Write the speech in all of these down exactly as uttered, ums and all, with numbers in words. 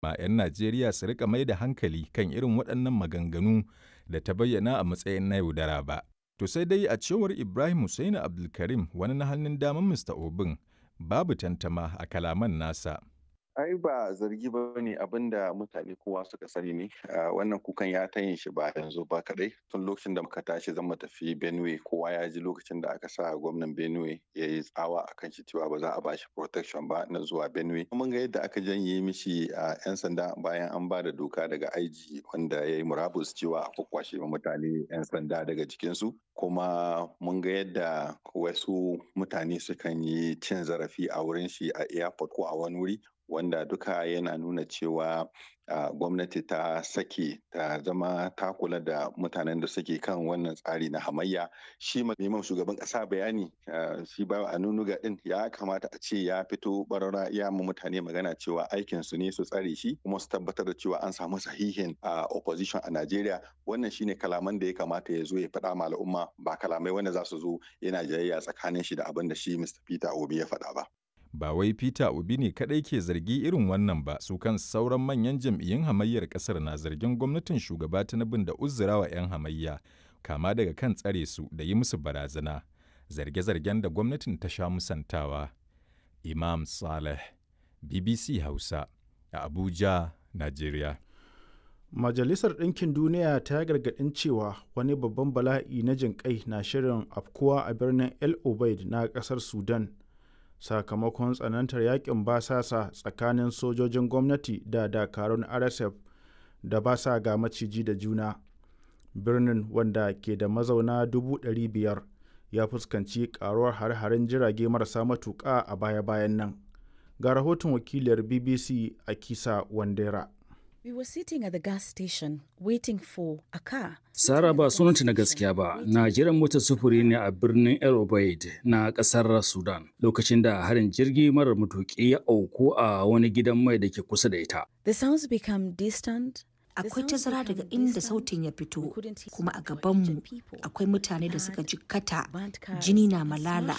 Ma 'yan Najeriya su riƙa mai da hankali kan irin waɗannan maganganu da ta bayyana a matsayin na yaudara ba. To sai dai a cewar Ibrahim Hussaini Abdulkarim wani na hannun daman Mista Obin, babu tantama a kalaman nasa. Ai ba zargi ba ne, abin da mutane kowa suka sani ne. Wannan kukan ya ta yin shi ba yanzu ba kadai, tun lokacin da muka tashi zan tafi Benue. Kowa ya ji lokacin da aka sa gwamnan Benue ya yi tsawa akan shi cewa ba za a bashi protection ba na zuwa Benue. Mun ga yadda aka janye mishi a yan sanda bayan an ba da doka daga I G wanda ya yi murabus cewa a kwakwashe mutane yan sanda daga jikinsu. Kuma mun ga yadda wasu mutane sukan yi cin zarafi a wurin shi a airport ko a wani wuri, wanda duka yana nuna cewa uh, gwamnati ta sake ta zama ta kula da mutanen da suke kan wannan tsari na hamayya. Shi neman shugaban kasa bayani, uh, shi ba a nunuga din ya kamata a ce ya fito barara ya ma mutane magana cewa aikin su ne su tsare shi kuma su tabbatar da cewa an samu sahihin uh, opposition a Najeriya. Wannan shine kalaman da ya kamata ya zo ya faɗa ma al'umma, ba kalamai wanda za su zo yana jayayya tsakanin shi da abin da shi Mister Peter Obi ya faɗa ba. Ba wai Peter Obi ne kaɗai ke zargi irin wannan ba, su kan sauran manyan jam'iyyun hamayyar ƙasar na zargin gwamnatin shugaba Tinubu da uzurawa 'yan hamayya, kama daga kan tsare su da yi musu barazana, zarge-zargen da gwamnatin ta sha musantawa. Imam Saleh, B B C Hausa, a Abuja, Najeriya. Majalisar Ɗinkin Duniya ta gargaɗin cewa wani babban bala'i na jinƙai na shirin afkuwa a birnin El Obeid na ƙasar Sudan, sakamakon tsanantar yakin basasa tsakanin sojojin gwamnati da dakarun R S F da ba sa ga maciji da juna. Birnin, wanda ke da mazauna dubu ɗari biyar, ya fuskanci karuwar hare-haren jirage marasa matuƙa a baya-bayan nan. Ga rahoton wakiliyar B B C a Kisa Wandera. We were sitting at the gas station waiting for a car. Sara, ba sunanta na gaskiya ba, na jiran motar sufuri ne a birnin El Obeid na kasar Sudan lokacin da harin jirgi marar matuƙi ya auku a wani gidan mai da ke kusa da ita. The sounds become distant. Akwai tazara daga inda sautin ya fito, kuma a gabanmu akwai mutane da suka jikkata, jini na malala,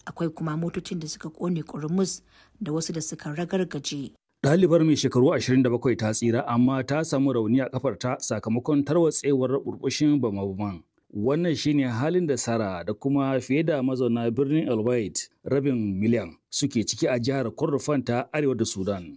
akwai kuma motocin da suka kone kurmus da wasu da suka ragargaje. Ɗalibar mai shekaru ashirin da bakwai ta tsira, amma ta samu rauni a kafarta sakamakon tarwatsewar burbushin bama-baman. Wannan shine halin da Sara da kuma fiye da mazauna birnin El Obeid rabin miliyan suke ciki a jihar Kordofan ta arewa da Sudan.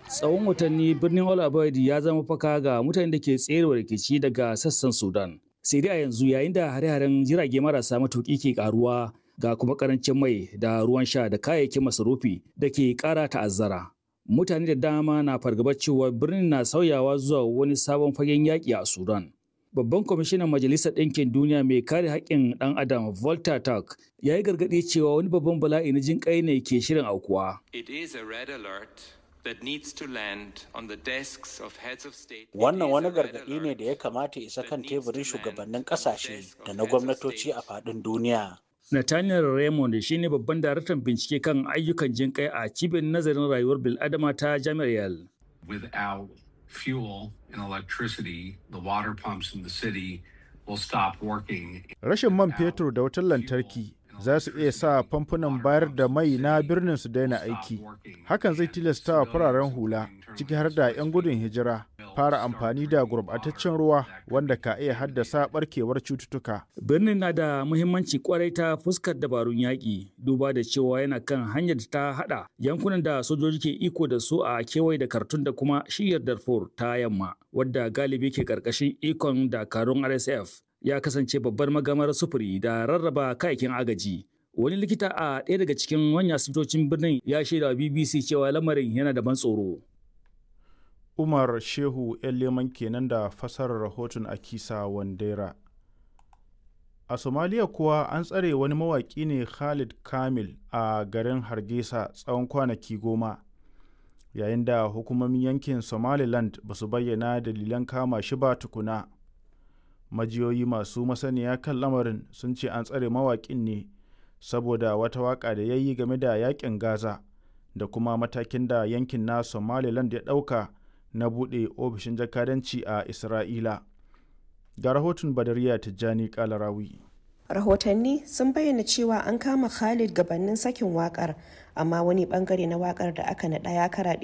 Tsawon watanni birnin El Obeid ya zama faka ga mutanen da ke tserewa rikici daga sassan Sudan. Sai dai a yanzu, yayin da hare-haren jirage marasa matuƙi ke karuwa, ga kuma karancin mai da ruwan sha da kayayyakin masarufi da ke kara ta'azzara. Mutane da dama na fargabar cewa birnin na sauyawa zuwa wani sabon fagen yaƙi a Sudan. Babban kwamishinan Majalisar Ɗinkin Duniya mai kare haƙƙin ɗan Adam, Volker Turk, ya yi gargaɗi cewa wani babban bala'i na jin ƙai ne ke shirin aukuwa. It is a red alert that needs to land on the desks of heads of state. Wannan wani gargaɗi ne da ya kamata isa kan teburin shugabannin ƙasashe da na gwamnatoci a faɗin duniya. Nathaniel Raymond shine babban daraktan bincike kan ayyukan jinƙai a cibiyar nazarin rayuwar bil'adama ta Jami'ar Yale. Without fuel and electricity, the water pumps in the city will stop working. Rashin man fetur da wutar lantarki za su iya sa famfunan bayar da mai na birnin su daina aiki. Hakan zai tilasta wa fararen hula, ciki har da 'yan gudun hijira, fara amfani da gurbataccen ruwa, wanda ka iya haddasa barkewar cututtuka. Birnin na da muhimmanci kwarai ta fuskar dabarun yaƙi, duba da cewa yana kan hanyar da ta haɗa yankunan da sojoji ke iko da su a kewaye da Khartoum da kuma shiyar Darfur ta yamma, wadda galibi ke ƙarƙashin ikon dakarun R S F. Ya kasance babbar magamar sufuri da rarraba kayayyakin agaji. Wani likita a ɗaya daga cikin manyan asibitocin birnin ya shaida wa B B C cewa lamarin yana da ban tsoro. Umar Shehu ‘yan Leman kenan da fasarar rahoton Akisa Wandera. A Somaliya kuwa, an tsare wani mawaƙi ne, Khalid Kamil, a garin Hargeisa tsawon kwanaki goma, yayin da hukumomin yankin Somaliland ba su bayyana dalilan kama shi ba tukuna. Majiyoyi masu masaniya kan lamarin sun ce an tsare mawaƙin ne saboda wata waƙa da ya yi game da yaƙin Gaza da kuma matakin da yankin na Somaliland ya ɗauka na buɗe ofishin jakadanci a Isra'ila. Ga rahoton Badariya Tijjani Kalarawi. Rahotanni sun bayyana cewa an kama Khalid gabanin sakin wakar, amma wani bangare na wakar da aka naɗa ya karaɗe